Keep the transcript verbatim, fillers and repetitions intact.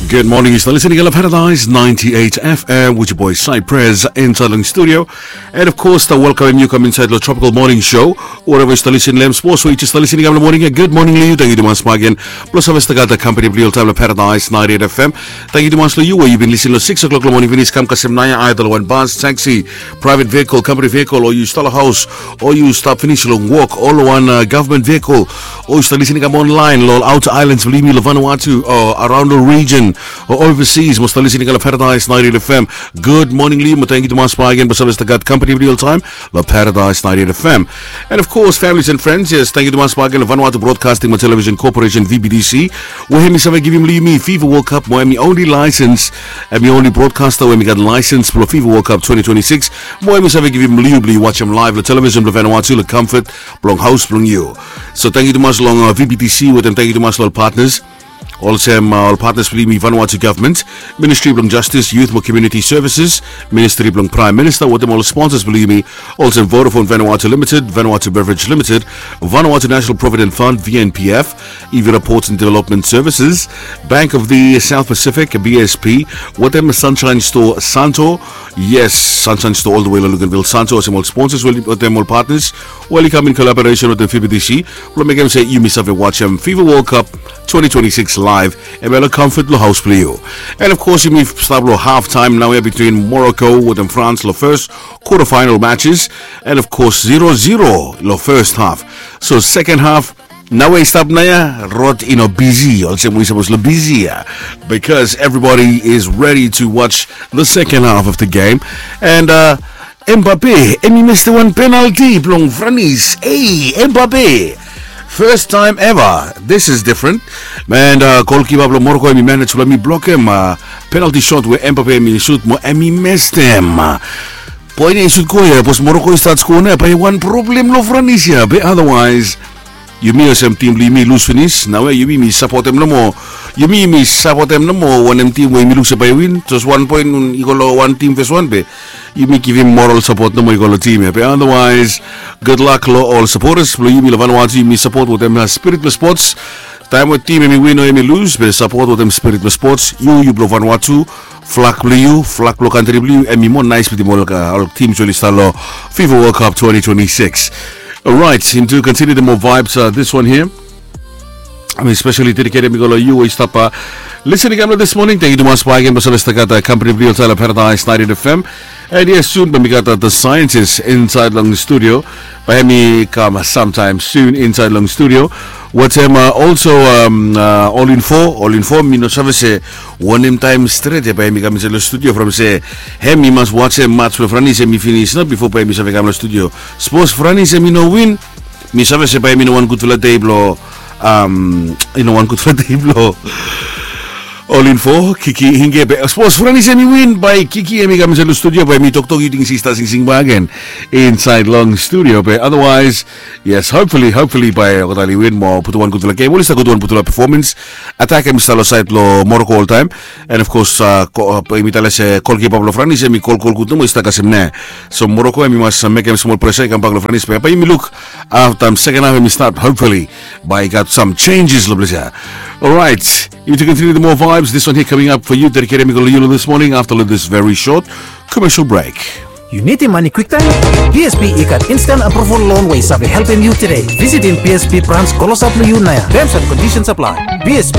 Good morning, yu stap listening long Paradise ninety-eight F M with your boy Cypress inside long studio. And of course, stap welcomem yu kam inside long Tropical Morning Show. Wherever yu stap listening long hem, spos we yu stap listening long morning, good morning long yu. Tangkiu tumas bakegen blong save stap gat company blong yu oltaem long Paradise ninety-eight F M. Tangkiu tumas long yu we yu bin listening long six o'clock long morning finis kam kasem naoia, aedha long wan bus, taxi, private vehicle, company vehicle, o yu stap long haos, o yu stap finis long wok, o long wan uh, government vehicle, o yu stap listening kam online long outer islands blong yumi long Vanuatu, o around the region, o overseas, mo stap listening long Paradise ninety-eight F M. Good morning long yu, mo tangkiu tumas bakegen blong save stap gat company blong yu oltaem long Paradise ninety-eight F M. And of course, families and friends, yes, tangkiu tumas bakegen long Vanuatu Broadcasting mo Television Corporation, V B T C, we hemi save givim long yumi FIFA World Cup, mo hemi only license, hemi only broadcaster we hemi gat license blong FIFA World Cup twenty twenty-six, mo hemi save givim long yu blong yu wajem live long television blong Vanuatu long comfort blong haos blong yu. So tangkiu tumas long uh, V B T C, wetem tangkiu tumas long ol partners. Olsem uh, ol partners blong yumi: Vanuatu Government, Ministry blong Justice, Youth mo Community Services, Ministry blong Prime Minister, wetem ol sponsors blong yumi, olsem Vodafone Vanuatu Limited, Vanuatu Beverage Limited, Vanuatu National Provident Fund, V N P F, Ivira Ports and Development Services, Bank of the South Pacific, B S P, wetem Sunshine Store Santo. Yes, Sunshine Store all the way long Luganville, Santo, olsem ol sponsors, wetem ol partners we oli kam in collaboration wetem V B T C blong mekem se yumi save wajem FIFA World Cup twenty twenty-six live, hemia long comfort blong haos blong yu. And of course, yumi stap long half time naoia between Morocco wetem France long first quarter final matches. And of course, zero zero long first half. So second half, naoia i stap naoia, rod i no bisi olsem we i sapos long bisi ia, because everybody is ready to watch the second half of the game. And uh, Mbappe, hemi mestem wan penalti blong Franis. Ei, Mbappe, first time ever. This is different. And uh, goalkeeper blong Morocco, hemi manage blong hemi blokem uh, penalti shot we Mbappe hemi sut, mo hemi mestem. Poen ia i sut go ia, sapos Morocco i stat skoa naoia, bae wan problem long Franis ia, be otherwise yumi olsem tim blong yumi i lus finis. Naoia yumi mi sapotem nomo. Yumi mi sapotem nomo wanem tim we yumi luk se bae i win. Jes wan poen i go long wan tim fes wan, be yumi givim moral sapot nomo i go long tim ia. Be otherwise, good luck long ol supporters blong yumi long Vanuatu. Yumi sapot wetem uh, spirit blong spots. Taem we tim hemi win o hemi lus, be sapot wetem spirit blong spots. Yu, yu blong Vanuatu, flag blong yu, flag blong kantri blong yu, hemi moa naes wetem ol uh, ol tim we oli stap long FIFA World Cup twenty twenty-six. Alright, into continue the more vibes, uh, this one here. Hemi especially dedicated mi go long yu we yu stap uh, listening kam long this morning. Tangkiu tumas bakegen blong save stap gat uh, company blong yu oltaem long Paradise ninety-eight F M. And yes, soon bae mi gat uh, the scientist inside long studio. Bae hemi kam uh, sometime soon inside long studio. Wetem uh, also um, uh, All in Four, All in Four, mi no save se wanem taem stret ia bae hemi kam insait long studio from se hemi mas wajem match blong Franis ia hemi finis nao bifo bae hemi save kam long studio. Sapos Franis ia hemi no win, mi save se bae hemi no wan gudfala dei blong um, i no wan gudfala dei blong All in Four, Kiki Inge. Be sapos Franis ia hemi win, bae Kiki ia hemi kam insait long studio, bae hemi toktok, yu ting se i stap singsing bakegen insait long studio. Be otherwise, yes, hopefully, hopefully bae olgeta oli win mo putum wan gudfala game. Oli stap gud wan gudfala performance. Atak hemi stap long saed blong Morocco oltaem. And of course, uh, ko- uh, yumi talem se goalkeeper blong Franis ia hemi golgol gud nomo, i stap kasem naoia. So Morocco hemi mas uh, mekem smol pressure i kambak long Franis, be bae yumi luk afta second half hemi stat, hopefully bae i gat some changes long ples ia. Alright, you to continue the more vibes. This one here coming up for you, dedicated mi go long yu long this morning after this very short commercial break. Yu nidim mane kwiktaem? B S P i gat instant approval loan we i save helpem yu tede. Visitim B S P branch klosap long yu naoia. Terms and conditions apply. B S P.